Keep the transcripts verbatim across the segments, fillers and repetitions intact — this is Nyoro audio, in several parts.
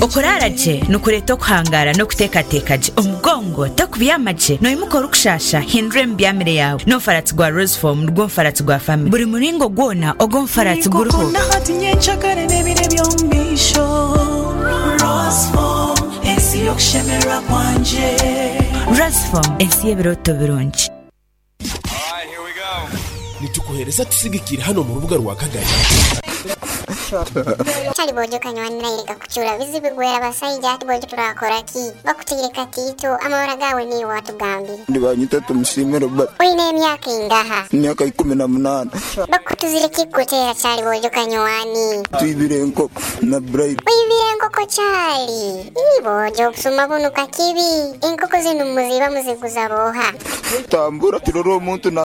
Okurara gye nikureeta okuhangara n'okuteekateeka gye omugongo tokubyama gye noimuka orikushasha hindura emibyamire yawe n'omufaratsi gwa Roseform nigwo mufaratsi gwa family buri muringo gwona ogwo omufaratsi guriho. Roseform ensi y'ebirooto birungi. Nitukuhereza tusigikira hano mu rubuga rwa Kagari. Chali bojo kanywani naireka kuchura bizibu gwera basaija ati bojo turakora ki bakutire katito amahora gawe ni watugambire. Ndibanyita tumushimire ba Oine emyaka ingaha? Emyaka ikumi na munana. Bakutuzire kikutera chali bojo kanywani. Twibire enkoko na bright. Wibire enkoko chali. Ibojo obusuma bunu kakibi. Enkoko zinu muziba muziguza boha. Tambura turoro omuntu na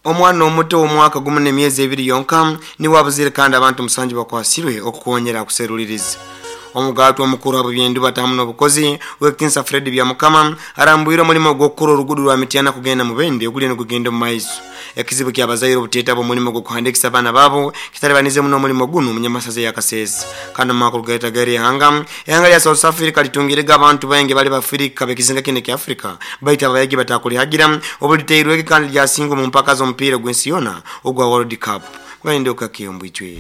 Omwana omuto omwaka gumu n'emyezi ebiri yonka niwe abuzire kandi abantu musanju bakwasirwe okukonyera kuseruliriza. Omugato omukuru abo byendu batamu n'obukozi wekinsa Fred Byamukama arambwire omulimo gw'okukora orugudo rwa Mityana kugenda mu Bende oguli n'ogugenda mu maiso. Ekizibu ky'abazaire obuteeta bw'omulimo gw'okuhandikisa abaana baabo kitalibanize muno omulimo guno munyamasaza ya Kasese. Kandi mu makuru gaita gari ehanga ehanga lya South Africa litungirega abantu baingi bali bafirika bekizinga kine kya Africa baita abayagi batakulihagira obuliteirweke kandi lyasinga mu mpaka z'omupiira gw'ensi yona ogwa World Cup. Gwayendoka kiyombwichwe.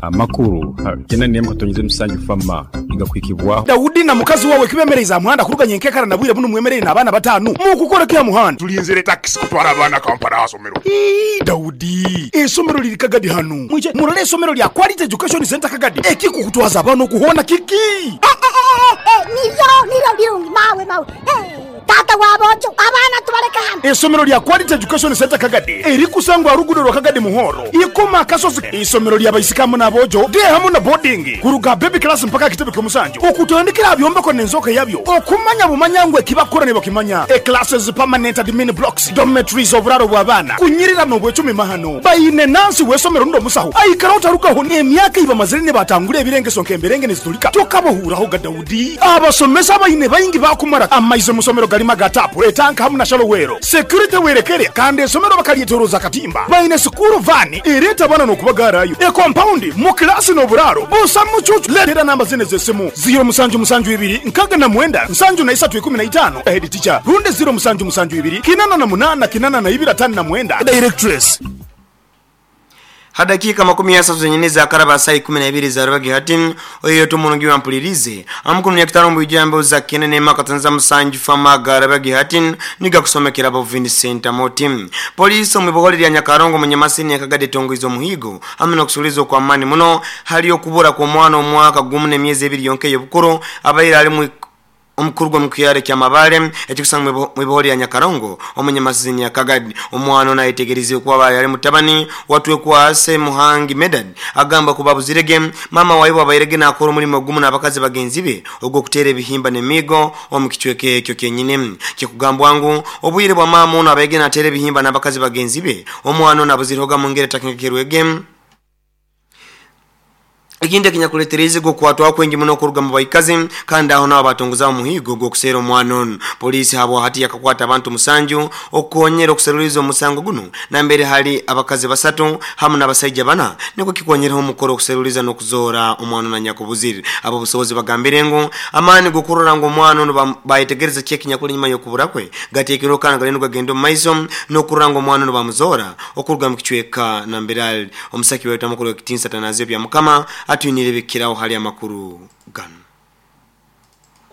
Amakuru kena niyemo katonyize musanju fama igakwikibwaho. Daudi na mukazi wawe kibemereza muhanda kuruganya nkekara nabwire buno mwemerere n'abana batanu mu kukora kya muhanda tulinzire taxi kutwara abana Kampala asomero. Ii Daudi esomero liri Kagadi hano mwije murole esomero lya Quality Education Center Kagadi ekikukutwaza abana kuhona kiki nivyo nivyo birungi mawe mawe tata wabojo abana tubareka hano. Esomero lya Quality Education Center Kagadi erikusangwa rugudo rwa Kagadi Muhoro ikoma kasozi. Isomero lya baisikamu nabojo de hamu na boarding kuruga baby class mpaka kitebe kyomusanju okutandikira byombeko nenzoka yabyo okumanya bumanyangwe kibakora ne bakimanya e classes permanent admin blocks dormitories oburaro bw'abana kunyirira no bwecumi mahano bayine nansi wesomero ndo musaho aikara utarukaho emyaka iba mazire batangure ebirengeso nkemberenge nezitulika tokabohuraho ga Daudi abasomesa bayine bayingi bakumara amaize musomero galima gatapu etanka hamu na shalowero security werekere kandi esomero bakalietoroza katimba bayine sukuru vani ereta bana nokubagarayo e compound mu klasi no buraro busa mucucu letera namba zine zesimu zero musanju musanju ibiri nkaga na mwenda nsanju na isatu ikumi na itano head teacher runde zero musanju musanju ibiri kinana na munana kinana na ibira tano na mwenda directress. Hadakika makumi ya satu zenyene za karaba saa ikumi na ibiri za rubagi hati oyo tumunungi wampulirize amukunu ya kitarumbu ijambo za kenene makatanza musanju fama garabagi hati niga kusomekera bo Vincent Moti. Polisi omwiboholi lya Nyakarongo munyamasini ya Kagadi tongo muhigo amuna kusulizo kwa amani muno hali okubura kwa mwana omwaka gumu n'emyezi ebiri yonke y'obukuru abaira ali mu omukuru mukuyare kya mabale ekikusanga mwiboholi ya Nyakarongo omunyamasini ya Kagadi omwana nayetegerize kuba bali mutabani watwe kwase Muhangi Medad agamba kubabuzirege mama wayibo abayirege nakora omulimo gumu n'abakazi bagenzi be ogwo kutere ebihimba n'emigo omukichweke ekyo kenyine kikugambwa ngu obuyire bwa mama ono abayege natere ebihimba n'abakazi bagenzi be omwana nabuziroga mu ngere takengekerwege. Ikindi kinyakuletereze go kwatwa kwengi muno kuruga mu baikazi kandi aho nabo batongoza muhigo go kusera omwana. Polisi habo hati yakakwata abantu musanju okonyera okuseruliza omusango guno na mbere hali abakazi basatu hamu n'abasajja bana niko kikonyeraho omukoro okuseruliza n'okuzora omwana na nyakubuziri. Abo busobozi bagambire ngo amani gukurora ngo omwana ono bayetegereza kye kinyakuli nyuma yokubura kwe gatekero kana galeno gagendo mu maiso n'okurora ngo omwana ono bamuzora okuruga mu kichweka na mbere omusaki wetu amakuru kitinsa tanazio bya mukama atuinirebekeraho hali amakuru gano.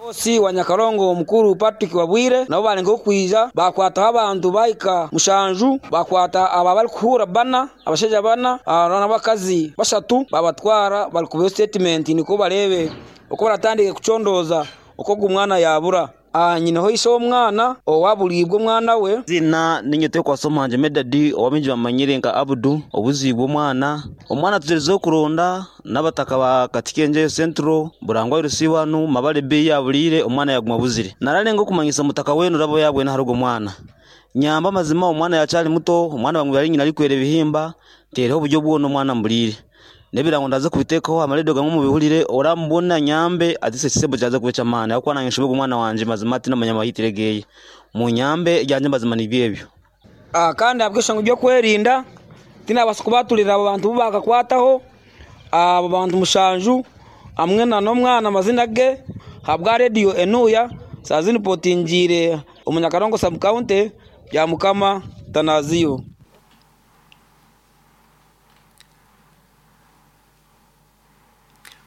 Osi wa Nyakarongo mukuru Patrick Wabwire nabo balenga okwiza bakwata abantu baika mushanju bakwata aba bali kuhura bana abashaija bana n'abakazi basatu babatwara bali kuba statement niko barebe uko baratandike kucondoza uko gumwana yabura. Ah nyina ho iso omwana owabulibwe omwana we zina ninyote kwa somanje Medadi owaminji bamanyire nka Abdu obuzibwe omwana omwana tuzerezo kuronda n'abataka ba Katikenje Central burangwa rusiwanu mabale be yabulire omwana yaguma buzire naralenga okumanyisa mutaka wenu rabo yabwe naharugo omwana nyamba mazima omwana yachali muto omwana bamwe bali nyina likwere bihimba tereho oburyo bwono omwana mbulire Nebirango ndaza kubitekaho amaredio gamwe mubihurire orambona nyambe atise kisebo cyaza kubeca amana yakwa nange nshobe umwana wanje mazima ati namanya yitiregeye mu nyambe ryanje mazima ni byebyo. Ah, kandi abweshango byo kwerinda tinabasa kubatulira abo bantu bakakwataho abo bantu mushanju amwe na nomwana amazina ge habwa radio enuya sazini potingire omunyakarongo sub county ya Mukama Tanaziyo.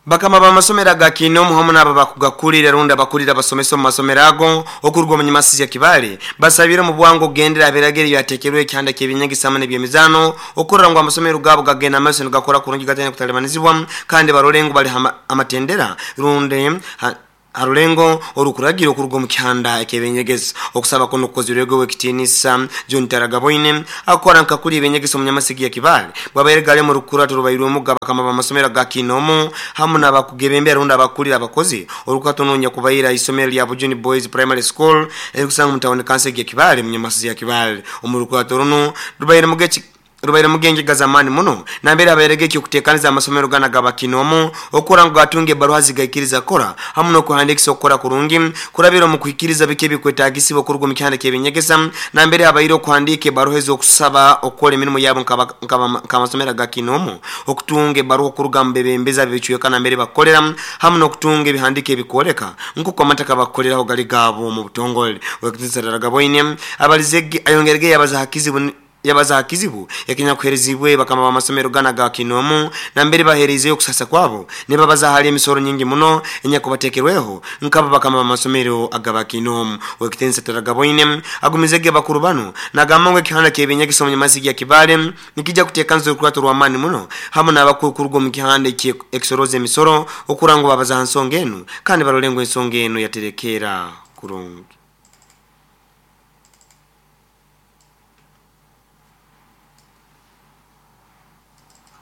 Bakama ba masomero ga kinomu hamu n'aba bakugakulira runda bakulira basomesa mu masomero ago okurwa mu nyamasi ya Kibale basabira mu bwango gendera abirageri yatekerwe kyanda kebinyagisama n'ebyemizano okurra ngo amasomero gabo gagenda amaso gakora kurungi gatanya kutalemanizibwa kandi barolengo bali amatendera runde ha, harulengo orukuragira okurwa mu kyanda ekebenyegeza okusaba kuno kozirwego wekitinisa John Taragaboine akora nkakuri ebenyegeza mu nyamasigi ya Kibale bwabayeregale mu rukura turubayirwe mugaba kama bamasomero ga kinomu hamu nabakugebembe runda abakulira abakozi orukatononya kubayira isomero lya Bujuni Boys Primary School erikusanga mu town council ya Kibale mu nyamasigi ya Kibale omurukurato runo rubayire mugeki rubaire mugenge gazamani muno nambere abayeregeke okutekaniza amasomero gana gabakinomu okora ngo gatunge baruha zigaikiriza kora hamu no kuhandikisa okora kurungi kurabira mu kuikiriza bike bikwetagisibo kurugwa mu kyanda kebinyegesa nambere abayire okuhandike baruha zo kusaba okora emirimo yabo nk'amasomero gakinomu okutunge baruha kuruga mbebembeza bicuye nambere bakolera hamu no kutunge bihandike bikoleka nkuko amataka bakoleraho gali gabo mu butongole wekitinsaragaboine abalizege ayongerege yabaza hakizibu yabaza hakizibu yakenya kuherezibwe bakama ba masomero gana ga kinomu nambere bahereze yo kusasa kwabo nibabaza hali emisoro nyingi muno enya kubatekerweho nkaba bakama ba masomero agaba kinomu wekitensa taragaboine agumizege bakuru bano nagamba kihanda kebinya kisomo nyamasi ya Kibale nikija kutekanzo kurato rwamani muno hamu nabakukurgo mu kihanda ekisoroze emisoro okurango babaza hansonga enu kandi barolengo ensonga enu yaterekera kurungi.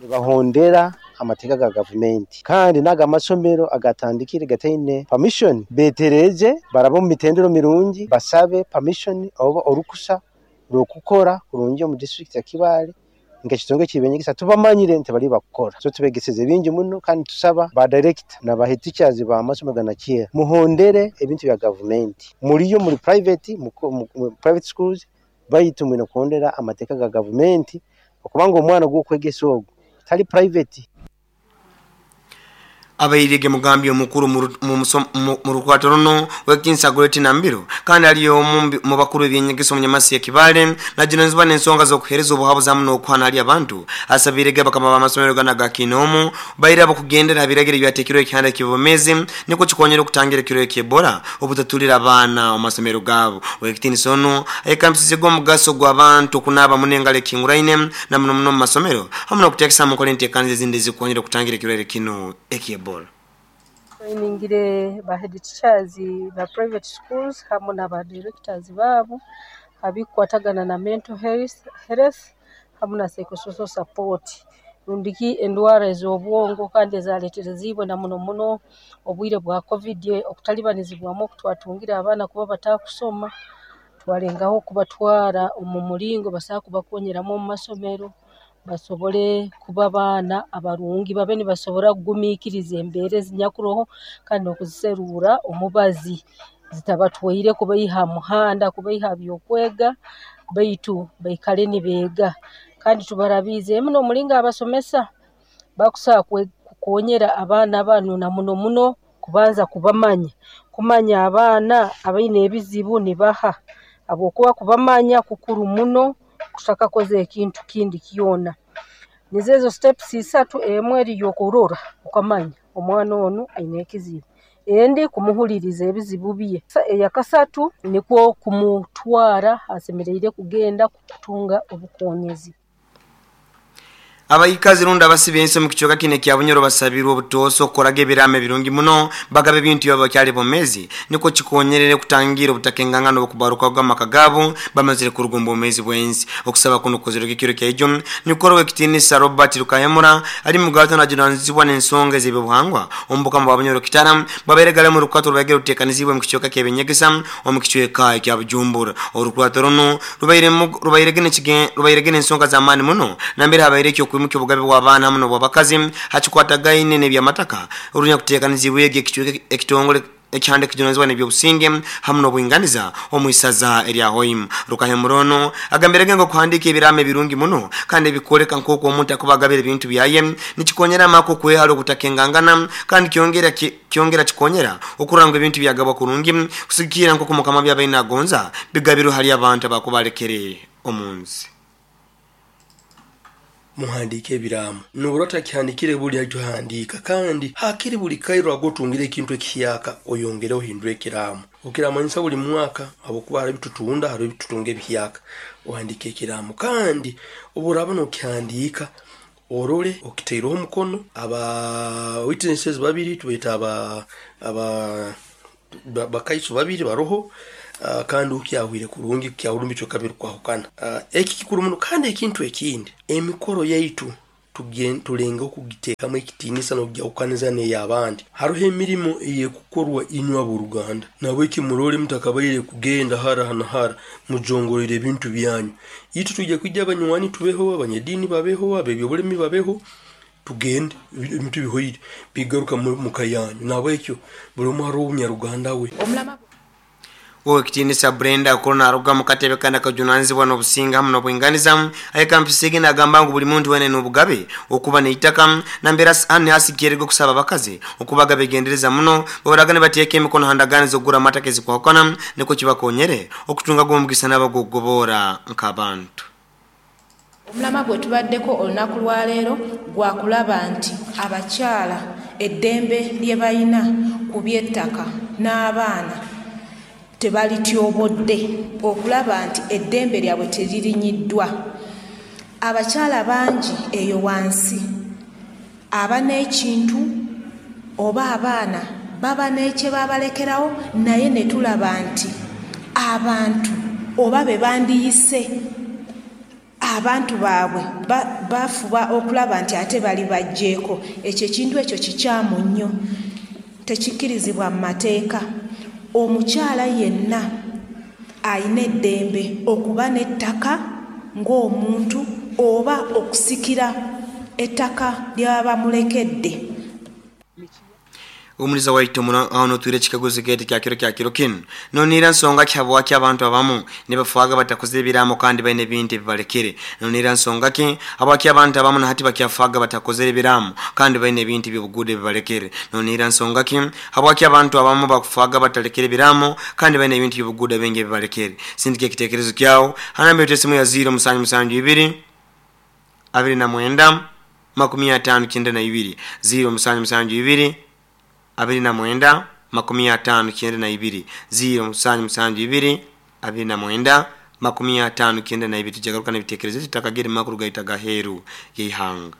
Bahondera amateeka ga gavumenti kandi naga amasomero agatandikire gataine permission betereje barabo mu mitendero mirungi basabe permission oba orukusa rwokukora kurungi mu district ya Kibale nga kitonge kibenyegesa tubamanyire nti bali bakukora so tubegeseze bingi muno kandi tusaba ba director na ba head teachers ba masomero ganakiera muhondere ebintu bya gavumenti muriyo muri private mu, mu private schools bayitumwe no kuhondera amateeka ga gavumenti okubanga omwana gwokwegesa ogwo tali private. Abairege mugambi omukuru mu rukwato runo wekinsa goleti nambiro kandi aliyo mu bakuru ebyenyegeso mu nyamasi ya Kibale najinozwa n'ensonga z'okuhereza obuhabuzi muno okuhana ali abantu asabirege bakama b'amasomero gana ga kinomu bayira bakugendera abiragire byatekirwe ekihanda kibomeze niko kikonyera okutangira ekiro eky'Ebola obutatulira abaana mu masomero gabo wekitiniso ono ekampisize gw'omugaso gw'abantu okunaaba munengalo ekinguraine na muno muno mu masomero hamu n'okuteekesa mu nkola enteekaniza ezindi ezikonyera okutangira ekirwaire kino eky'Ebola. Trainingire ba head teachers ba private schools hamu na ba directors babo abikwatagana na mental health, health hamu na psychosocial support rundiki endwara ez'obwongo kandi ezaleterezibwe na muno muno obwire bwa covid okutalibanizibwamu okutwatungira abaana kuba batakusoma twalengaho kubatwara omu mulingo basobola kubakonyeramu omu masomero basobole kuba baana abarungi babe nibasobora kugumiikiriza embeera ezinyakuroho kandi n'okuziserura omubazi zitabatwaire kubaiha muhanda kubaiha byokwega baitu baikale nibeega kandi tubarabiizeemu n'omulingo abasomesa bakusobola kukonyera abaana banu na muno muno kubanza kubamanya kumanya abaana abaine ebizibu nibaha habwokuba kubamanya kukuru muno kushaka koze ekintu kindi kyona. Nizezo steps isatu emwe eri yokurora ukamanya omwana ono aine ekizibu endi kumuhuliriza ebizibu bye eyakasatu nikwo kumutwara asemereire kugenda kutunga obukonyezi. Abayikazi runda abasibe mu kichoka kine kya Bunyoro basabirwa obutoso okoraga ebirame birungi muno bagabe bintu yabo bakyali bomezi niko kikonyerere kutangira obutakengangano okubaruka gw'amaka gabo bamazire kurugomba omwezi bwenzi okusaba kuno kozero kikiro kya ijo nikoro wekitinisa Robert Rukayamura ali mugato najunanizibwa n'ensonga ez'ebyobuhangwa ombuka mu Bunyoro kitara baberegale mu rukato rubagere rutekanizibwe mu kichoka kyebenyegesa omu kichweka kya Bujumbura orukwato runo rubaire rubaire gene rubaire gene ensonga z'amaani muno nambere habaire ekyo eby'okwimukya obugabe bw'abaana hamu n'obw'abakazi hakikwatagaine n'ebyamataka orunya kuteekanizibwa egi ekicweka ekitongole ekyande kijunanizibwa n'ebyobusinge hamu n'obwinganiza omu isaza erya Hoima. Rukahemurono agambirege ngo kuhandika ebirama ebirungi muno kandi ebikoleka nk'oku omuntu akuba agabira ebintu byaye nikikonyera amaka okwehara okutakengangana kandi kyongera kyongera kikonyera okuranga ebintu byagabwa kurungi kusigikira nk'oku mukama byabaine agonza bigabirwe hali abantu abakubalekere omunsi. Muhandike ebiraamo nobura otakihandikire buli akyohandika kandi hakiri buli kairo agotungire ekintu ekihiyaka oyongere ohindure ekiraamo okiramanyisa buli mwaka habwokuba hariho ebitutunda hariho ebitutunga ebihiyaka ohandike ekiraamo kandi oburaba nokihandika orole okiteireho omukono aba witnesses babiri tubeeta aba aba bakaiso babiri baroho. Uh, kandi ukyahwire kurungi kyahurumbi kyo kabiri kwahukana. uh, eki kikuru muno. Kandi ekintu ekindi, emikoro yaitu tulenga okugiteekamu ekitiinisa n'okugyahukaniza n'ey'abandi. Hariho emirimo eyekukorwa inywe ab'oruganda, nabweki murole mutakabaire kugenda hara na hara mujongorere ebintu byanyu. Itu tujja kwijja abanywani tubeho, abanyedini babeho, abebyobulemi babeho, tugende ebintu bihoire bigaruka muka yanyu. Nabwekyo buli omu hariho omunyaruganda we. Owekitinisa Brenda Korona aruga mu katebe kandi akajunanizibwa n'obusinga hamu n'obwinganiza ayekampisege nagamba ngu buli muntu wene n'obugabe okuba n'eitaka nambera ani asikirego kusaba abakazi okubaga begendereza muno babaragane bateeka emikono handagane z'okugura amataka ezikwahukana niko kibakonyere okutunga gw'omugisa n'abagogobora nk'abantu. Omulama gwe tubaddeko olunaku lwaleero gwakulaba nti abakyala eddembe lye balina ku by'ettaka n'abaana tebalityobodde, okulaba nti eddembe lyabwe teririnyiddwa. Abakyala bangi eyo wansi aba n'ekintu oba abaana baba n'ekye babalekerawo, naye ne tulaba nti abantu oba be bandiyise abantu baabwe bafuba okulaba nti ate bali bajjeeko. Ekyo ekintu ekyo kikyamu nnyo, tekikkirizibwa mu mateeka. Omukyala yenna ayina eddembe okuba n'ettaka ng'omuntu oba okusikira ettaka ly'aba bamulekedde. Omuliza waitu muno aho twire kikaguzo gete kya kiro kya kiro kinu nonira nsonga ki habwaki abantu abamu ne bafuaga batakoze ebiramo kandi baine ebintu ebibalekere. Nonira nsonga ki habwaki abantu abamu na hati bakyafuaga batakoze ebiramo kandi baine ebintu by'obugude ebibalekere. Nonira nsonga ki habwaki abantu abamu bakufuaga batalekere ebiramo kandi baine ebintu by'obugude bingi ebibalekere. Sindike ekitekerezo kyawo hanambe esimu ya zero musanju musanju ibiri abiri na mwenda makumi atano kyenda na ibiri zero musanju musanju ibiri abiri na mwenda makumi atano kyenda na ibiri zero musanju musanju ibiri abiri na mwenda makumi atano kyenda na ibiri. Tujagaruka n'ebitekerezo tutakagere makuru gaita gaheru yeihanga.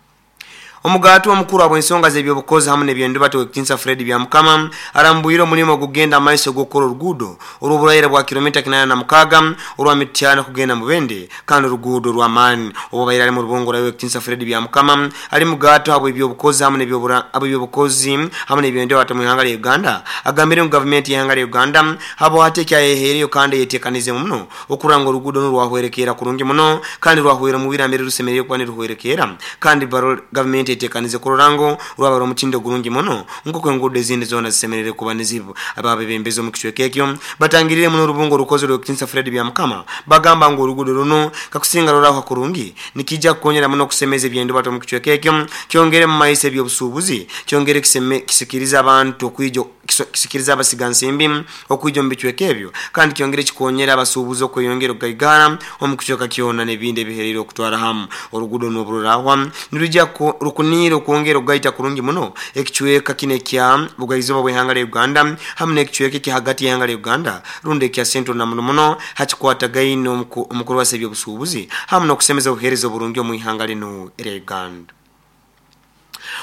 Omugatu omukuru abw'ensonga z'ebyobukozi hamwe n'ebyendubato Wekitinsa Fred Byamukama arambwire omulimo ogugenda amaiso g'okukora oruguudo olw'oburayira bwa kilomita kinana na mukaga olwa Mityana kugenda Mubende kandi oruguudo rw'amaani. Obubaire ali mu rubongo rwa Wekitinsa Fred Byamukama ali mugatu abw'ebyobukozi hamwe n'ebyobura abw'ebyobukozi hamwe n'ebyendubato mu ihanga lya Uganda agambire mu gavumenti y'ihanga lya Uganda habo hati ekyayeheereyo kandi yeteekanize muno okuranga oruguudo n'orwahwerekeera kurungi muno kandi rwahwera mu birambire rusemereire kuba niruhwerekeera kandi gavumenti tekanize kurorango rwaba omutindo gurungi muno nk'oku enguudo ezindi zona zisemerere kuba nizibu. Ababebembezi omu kicweka ekyo batangirire muno orubungo orukozi rw'Ekitinsa Fred Byamukama bagamba ngu oruguudo runo kakusinga rurahwa kurungi nikijja kukonyera muno okusemeza ebyendubato omu kicweka ekyo kyongere mu maiso ebyobusuubuzi kyongere kisikiriza abantu okwijo kisikiriza abasigansimbi okwijo mu bicweka ebyo kandi kyongere kikonyera abasuubuzi okweyongera okugaigara omu kicweka kyona n'ebindi ebiherire okutwara hamu. Oruguudo n'obururahwa nirujja rukunire okwongera okugaita kurungi muno ekicweka kino ekya bugaizoba bw'ihanga lya Uganda hamwe n'ekicweka ekya hagati y'ihanga lya Uganda rundi ekya Central na muno muno hakikwatagaine omukuru wa ebyobusuubuzi hamwe n'okusemeza obuheereza oburungi omu ihanga lino erya Uganda.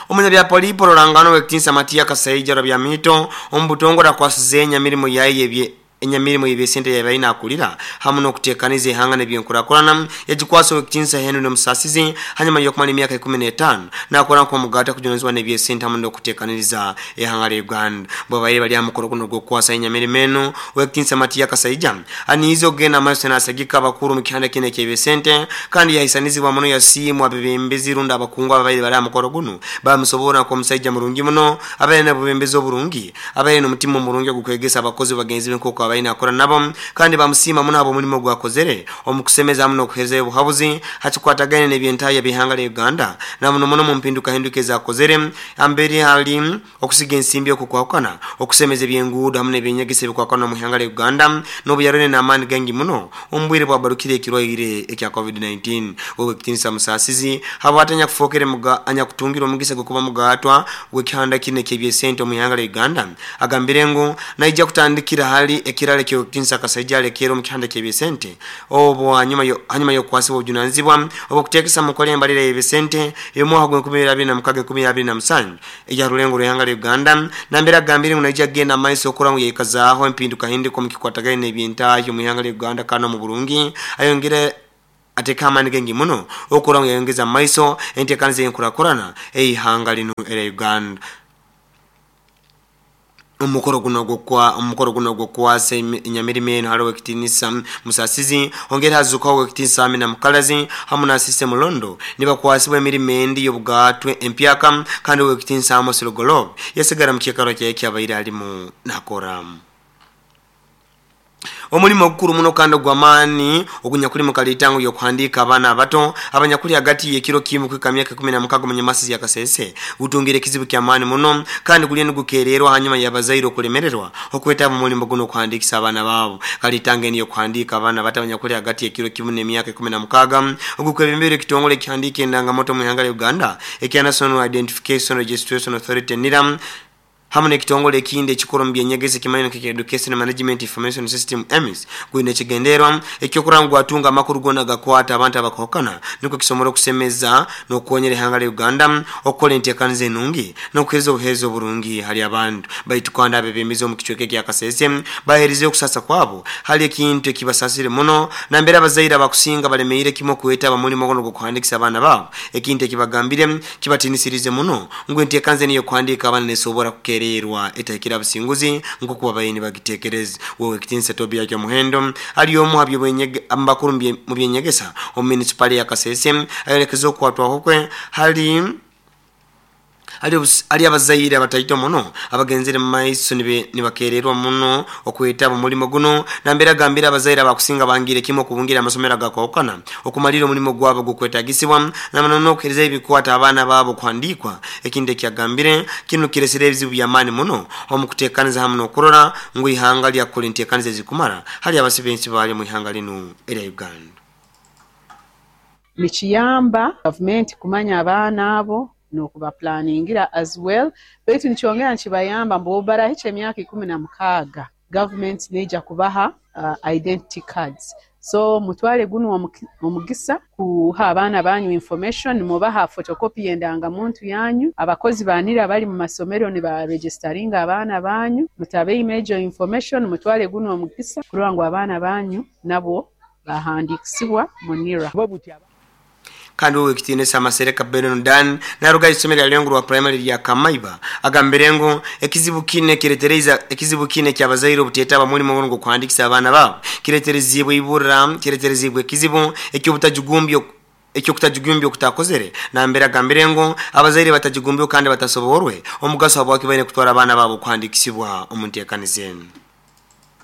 Omunyabyapolipo Rorangano Wekitinsa Matia Kasaija Rwabyamito omubutongore akwasize emirimo yaye ebye enyamirimo y'ebyesente yabaire nakulira hamu n'okuteekaniza ihanga n'ebyenkurakurana yagikwasa Owekitinisa Henry Musasizi hanyuma y'okumala emyaka ikumi n'etaano nakora nk'omugaata kujunanizibwa n'ebyesente hamu n'okuteekaniriza ihanga lya Uganda. Bwabaire bali aha mukoro guno gw'okukwasa enyamirimo eno, Owekitinisa Matiya Kasaija aniize okugenda amaiso n'asagika abakuru mu kihanda kino eky'ebyesente kandi yahisanizibwa muno yasiimwa abebembezi rundi abakungu ababaire bali aha mukoro guno bamusobora nk'omusaija murungi muno abaire n'obubembezi oburungi abaire n'omutima omurungi ogukwegesa abakozi bagenzi be nk'oku abaire nakora nabo kandi bamusiima muno abo omulimo gwakozere omukusemeza hamu n'okuherezayo obuhabuzi hakikwatagaine n'ebyentaya by'ihanga lya Uganda na muno muno mu mpindukahinduka ezakozere ambere hali okusiga ensimbi okukwakana okusemeza ebyenguudo hamu n'ebyenyegesa ebikwakana mu ihanga lya Uganda n'obuyarone n'amaani gangi muno omu bwire bwabarukire ekirwaire ekya covid nineteen. Owekitinisa Musasizi habwate anyakufookere anyakutungira omugisa gw'okuba mugaatwa gw'ekihanda kino eky'ebyesente omu ihanga lya Uganda agambire ngu naija kutandikira hali ekirala ky'Owekitinisa Kasaija alekera omu kihanda ky'ebyesente obwo hanyuma hanyuma y'okukwasibwa obujunanizibwa obw'okuteekesa mu nkola embalira y'ebyesente ey'omwaka gw'enkumi ibiri abiri na mukaaga enkumi abiri na musanju eya rulengo rw'ihanga lya Uganda nambere agambire ngu naija kugenda amaiso okura ngu yaikazaaho empindukahinduka omu kikwatagaine n'ebyentaahi omu ihanga lya Uganda kandi omu burungi ayongere ateeka amaani gengi muno okura ngu yayongeza amaiso enteekaniza y'enkurakurana ey'ihanga linu erya Uganda. Omukoro guno gwokwa omukoro guno gwokwasa enyamirimo eno hali Owekitinisa Musasizi ongera hazukaho Owekitinisa Amina Mukalazi hamu na Asise Mulondo nibakwasibwa emirimo endi y'obugaatwe empyaka kandi Owekitinisa Amos Lugoloobi yasigara mu kiikaro kye ekyabaire alimu nakora. Omulimo ogukuru muno kandi ogw'amaani ogunyakuli mu kaliitango y'okuhandiika abaana abato abanyakuli hagati y'ekiro kimu kuhika myaka ikumi na mukaaga omu Nyamasizi ya Kasese gutungire ekizibu ky'amaani muno kandi guliyo nigukeererwa hanyuma y'abazaire okulemererwa okwetaba omu mulimo guno okuhandiikisa abaana baabo. Kaliitango enu y'okuhandiika abaana bato abanyakuli hagati y'ekiro kimu n'emyaka ikumi na mukaaga ogukwebembera ekitongole ekihandiika endangamoto mu ihanga lya Uganda ekya National Identification Registration Authority NIRA hamu n'ekitongole ekindi ekikuru mu byenyegesa ekimanyiire nka Education Management Information System E M I S gwine ekigendererwa ekyokurora ngu gwatunga amakuru goona gakwata abantu abakwahukana nikwo kisobora okusemeza n'okukonyera ihanga lya Uganda okukora enteekaniza enungi n'okuheereza obuheereza oburungi hali abantu. Baitu kandi abebembezi omu kicweka ekya Kasese baheerize okusasa kwabo hali ekintu ekibasasire muno nambere abazaire abakusinga balemeire kimu okwetaba mulimo guno gw'okuhandiikisa abaana baabo ekintu ekibagambire kibatinisirize muno ngu enteekaniza enu ey'okuhandiika abaana nesobora kukeererwa etahikire abasinguzi nk'oku babaire nibagiteekereza. Owekitinisa Tobiya Kyomuhendo ali omu abakuru mu byenyegesa omu munisipaali ya Kasese ayolekeza okukwatwaho kwe hali ali abazaire abataito muno abagenzere mu maiso nibakeererwa muno okwetaba omulimo guno nambere agambire abazaire abakusinga bangire kimu okubungira amasomero agakwahukana okumalira omulimo gwabo gwokwetagisibwa namuno n'okuheereza ebikwata abaana baabo kuhandiikwa. Ekindi ekyagambire kinu kiresire ebizibu by'amaani muno omu kuteekaniza hamu n'okurora ngu ihanga lyakukora enteekaniza ezikumara hali abasibensi bali mu ihanga linu erya Uganda. Nikiyamba gavumenti kumanya abaana abo n'okubaplaningira as well, baitu nikyongera nikibayamba mbu obu barahikya emyaka ikumi na mukaaga gavumenti neija kubaha uh, identity cards. So mutwale guno omugisa kuha abaana banyu information, mubaha photocopy y'endangamuntu yanyu, abakozi ba NIRA bali mu masomero nibaregisteringa abaana banyu, mutabeime egyo information, mutwale guno omugisa kurora ngu abaana banyu nabo bahandikisibwa mu NIRA. Kandi Owekitinisa Masereka Benon Dan naruga isomero lya Lengurwa Primary lya Kamaiba agambire ngu ekizibu kine kiretereza ekizibu kine kyabazaire obutetaba mulimo guno gw'okuhandikisa abaana baabo kireterezibwe ibura kireterezibwe ekizibu eky'obutajugumbyo ekyokutajugumbya okutakozere nambere agambire ngu abazaire batajugumbyo kandi batasoborwe omugaso habwaki baine kutwara abaana baabo kuhandikisibwa omu nteekaniza enu.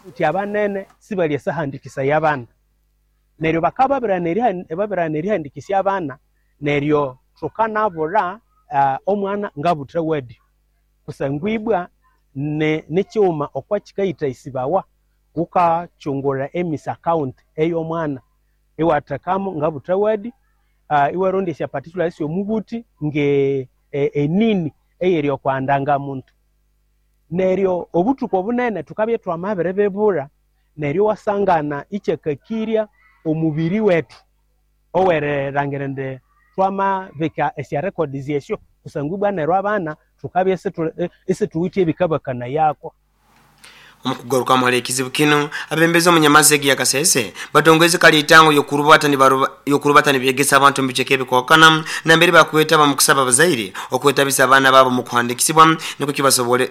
Nti abanene sibalye sahandikisa y'abaana neryo bakaba babirana erihandikisya abaana neryo tukanabura uh, omwana ngabutre wedi kusangwibwa ne nekyuma okwakikaita isibawa ukachungura E M I S account ey'omwana iwathekamu ngabutre wedi uh, iwarondesya particulars yomubuti nge e, enini eyeri okwandanga muntu neryo obutuku obunene tukabye twamabere bebura neryo wasangana ikyekakirya omubiri wetu owererangirende twama beka esya records esyo kusangubwa neryo abana tukabye esituwitye ebikabakana yako. Omukugarukamu hali ekizibu kinu, abembezi omunyamazege ya Kasese batongeze kalitango yokurubata ni baruba yokurubata ni byegesa abantu mbicheke ebikwakana nambere bakweta bamukusaba abazaire okwetabisa abaana babo mu kuhandikisibwa niko kibasobole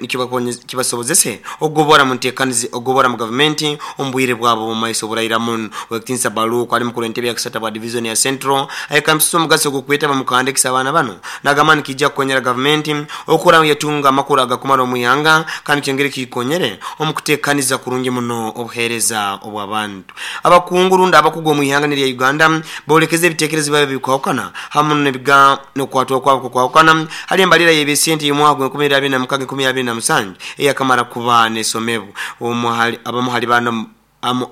kibasobozese ogobora mu ntekanizi ogobora mu government ombwire bwabo mu maiso buraira mun wekitinsa balu kwali mukuru entebe ya kisata bwa division ya Central ayikamsisa omugaso gwokweta bamukuhandikisa abaana bano nagamani kijja kukonyera government okura yatunga amakuru agakumara omuyanga kandi kyengere kikonyere omukutekaniza kurungi muno obuhereza obw'abantu. Abakungurunda abakugwa mu ihanga lya Uganda bolekeze ebitekerezo babe bikwakana hamu nebiga nokwatwa kwabo kwakana hali embalira y'ebisente y'omwaka gwa nkumi abiri na mukaaga nkumi abiri na musanju eyakamara kuba nesomebu omuhali abamuhali bano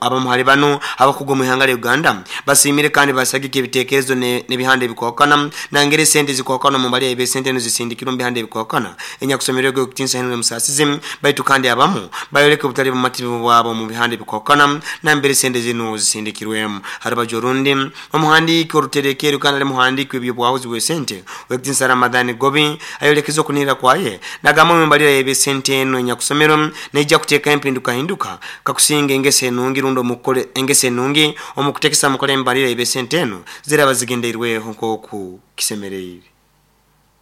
abamuhali bano abakugwa mu ihanga lya Uganda basimire kandi basagike ebitekerezo n'ebihande bikwakana nangere sente zikwakana mu mbali y'ebisente n'ozisindikira mu bihande bikwakana enyakusomerwa okutinsa hino musasizi baitu kandi abamu bayoleke obutali bumativu bwabo mu bihande bikwakana nambere sente zino zisindikirwemu. Harabajo rundi omuhandiki oruterekero kandi ali muhandiki w'ebyobwahuzi bw'esente wekutinsa Ramadhani Gobi ayolekeza okunira kwaye nagamba mu mbali y'ebisente eno enyakusomerwa nejja kuteeka empinduka hinduka kakusinga engese nungi rundo mukole engese nungi omukutekesa mukole embalira ebesente eno ziraba zigendeirweho nkoku kisemereire.